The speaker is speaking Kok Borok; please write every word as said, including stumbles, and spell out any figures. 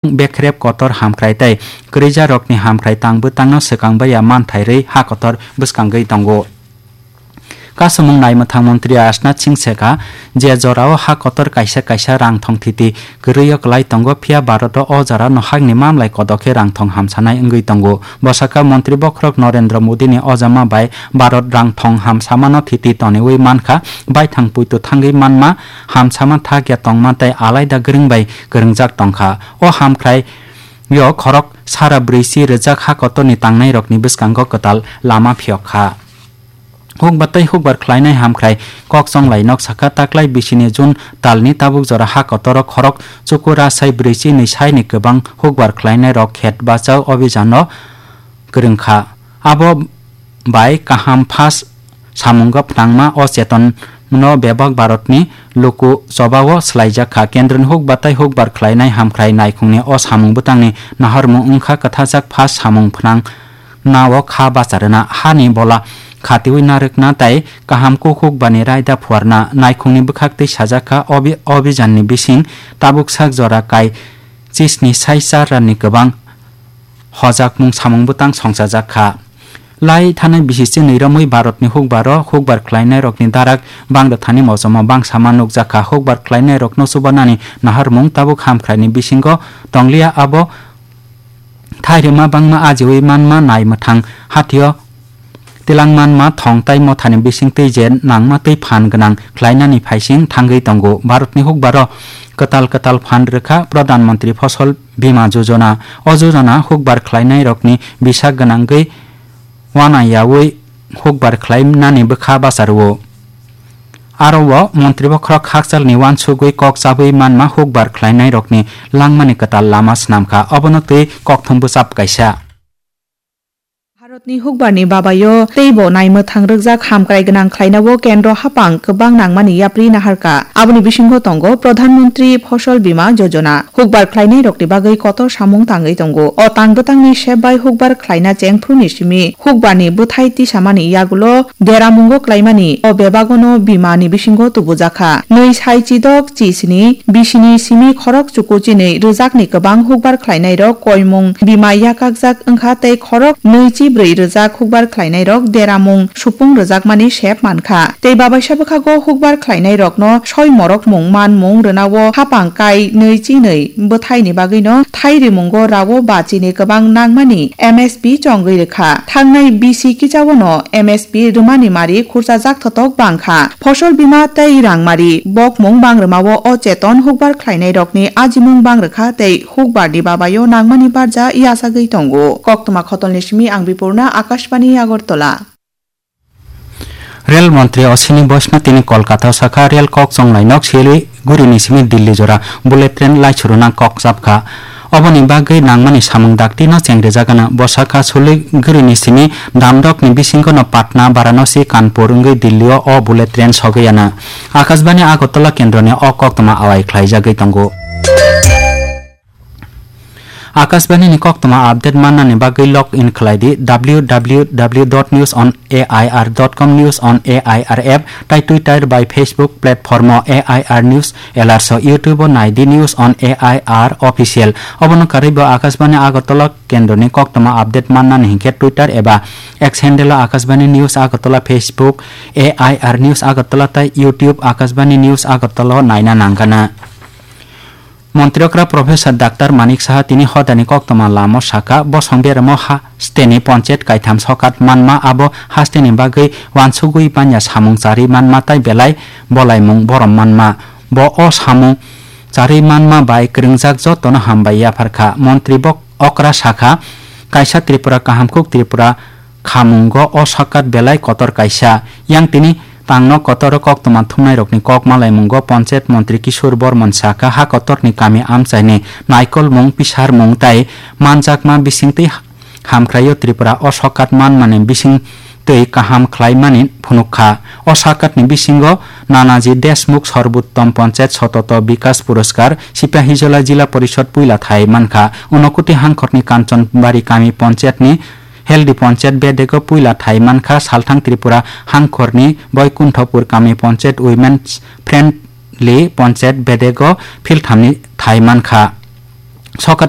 Bekrep kotor hamkrai tei kwrwijarokni hamkrai tang bwtangno swkang baiya manthai rwi ha kotor bwskangwi tongo. Kasumung naimwthang montri Rajnath Singh sekha, je jorao ha kotor kaisa kaisa rang thong thiti kwrwio kwlai tongo, phiya Bharoto o jorano hakni mamlai kodok khe rang thong hamsanai wngwi tongo. Bwsakha montri bokhorok Narendra Modini ojama bai Bharot rang thong hamsamano thiti toniwi mankha, baithang puitu thangwi manma, hamsama thakya tongma tei alaida gwrwng bai kwrwngjak tongkha. O hamkrai yo khorok sara brwichi rwjak ha kotorni tangnairokni bwskango kwtal lama phiyok kha. Hukbar tei hukbar khlainai hamkrai kok chonglai nok sakha, taklai bisini June talni tabuk jora ha kotoro khorok chukura sai brwichi nwi saini kwbang hukbar khlainairok khet bachao obhijano kwrwng kha. Abo bai kaham phas samungo phnangma o chetonno bebak Bharatni luku chobao swlaijak kha. Kendroni hukbar tei hukbar khlainai hamkrai naikhungni o samung bwtangni naharmung wngkha kwthajak phas samung phnang nao kha bacharwna, hani bola khatiwi narwkna tei kaham kuk hukbani raida phuarna, naikhungni bwkhak twi sajak kha. Obi-, obijanni bising tabuk sak jora kai chisni sai char ranni kwbang hojakmung samung bwtang songchajak kha. Lai thanai bisi chinwi romwi Bharatni hukbaro hukbar khlainairokni darak bangda thani mosomo bangsama nukjak kha. Hukbar khlainairokno chubanani naharmung tabuk hamkraini bisingo tongliya, abo thairima bangma ajiwi manma nai mwthang hatio tilang manma thong tai mothani bising twi je nangma twi phan gwnang khlainani phaising thangwi tongo. Bharatni hukbaro kwtal kwtal phan rwkha Pradhan Mantri Fosol Bima Jojona. O jojona hukbar khlainairokni bisa gwnangwi uanayaui hukbar khlainani bwkha bacharwo. Aro o montri bokhorok hakchalni uansugwi kok chabwi manma hukbar khlainairokni langmani kwtal lama swnamkha, obono twi kokthum bwchap kaisa. Bharatni hukbarni babaio teibo naimwthang rwkjak hamkrai gwnang khlainao kendro haphang kwbang nangmani yapri naharkha. Aboni bisingo tongo Pradhan Mantri Fosol Bima Jojona. Hukbar khlainairokni bagwi kotor samung tangwi tongo. O tang bwtangni sep bai hukbar khlaina chengphuruni simi hukbarni bwthai tisamani yagulo deramungo klaimani o bebagono bimani bisingo tubujakha. Nwi sai chidok chisni bisini simi khorok chuku chinwi rwjakni kwbang hukbar khlainairok koimung bima yakakjak wngkha tei khorok nwi chi brwi rwjak hukbar khlainairok deramung supung rwjakmani sep mankha. Tei babaisa bwkhago hukbar khlainairokno soi morokmung manmung rwnao haphang kai nwi chi nwi bwthaini bagwino thai rimungo rao bachini kwbang nangmani M S P chongwi rwkha. Thangnai bisi kichaono M S P rwmani mari khurchajak thotok bangkha. Fosol bima tei rangmari bokmung bangrwmao o cheton hukbar khlainairokni ajimung bangrwkha tei hukbarni babaio nangmani barja yachagwi tongo. Koktwma khotolni simi ang Bipurna, Akashbani Agartala. Rel montri Ashwini Vaishnaw tini Kolkata-o sakha, rel kok chonglai nok Siliguri-ni simi Delhi jora bullet train laichuruna kok chapkha. Oboni bagwi nangmani samung dakti no chengrijagana. Bo sakha, Siliguri-ni simi damdok ni bisingo no Patna, Varanasi, Kanpur wngwi Delhi-o o bullet train sogwi yana. Akashbani Agartala kendroni o koktwma awai khlaijagwi tongo. Akashbani ni koktwma update mannani bagwi log in khlai di W W W dot news on A I R dot com, News on A I R app, tai Twitter bai Facebook platform o A I R News Alerts o, YouTube o nai di News on A I R Official. Obono karwi bo Akashbani Agartala kendroni koktwma update mannani hinkhe Twitter eba X handle o Akashbani News Agartala, Facebook A I R News Agartala tai YouTube Akashbani News Agartala o naina nangkana. Montri okra Professor Doctor Manik Saha tini hodani koktwma lamo sakha, bosong beramo hasteni ponchayat kaitham sokat manma, abo hasteni bagwi uansugwi banya samung charwi manma tai belai bolaimung borom manma. Bo o samung charwi manma bai kwrwngjak jotono hambai yapharkha. Montri bok okra sakha, kaisa Tripura kaham kuk Tripura khamungo o sokat belai kotor kaisa. Yang tini tangno kotoro koktwma thumnairokni kok malaimungo ponchayat montri Kishore Bormon sakha, ha kotorni kami amchaini naikolmung, pisarmung tai manjakma bisingtwi hamkraio Tripura o sokat manmani bisingtwi kaham khlaimani phunukha. O sakatni bisingo Nanaji Deshmukh Sorbottom Ponchayat Sototo Bikas Puroskar, Sipahijola Jila Porishod puila thai mankha. Unakoti hangkhorni Kanchanbari kami ponchayatni Healthy Ponchayat bedego puila thai mankha, Salthang Tripura hangkhorni Boikunthopur kami ponchayat Women's Friendly Ponchayat bedego philthamni thai mankha. Sokato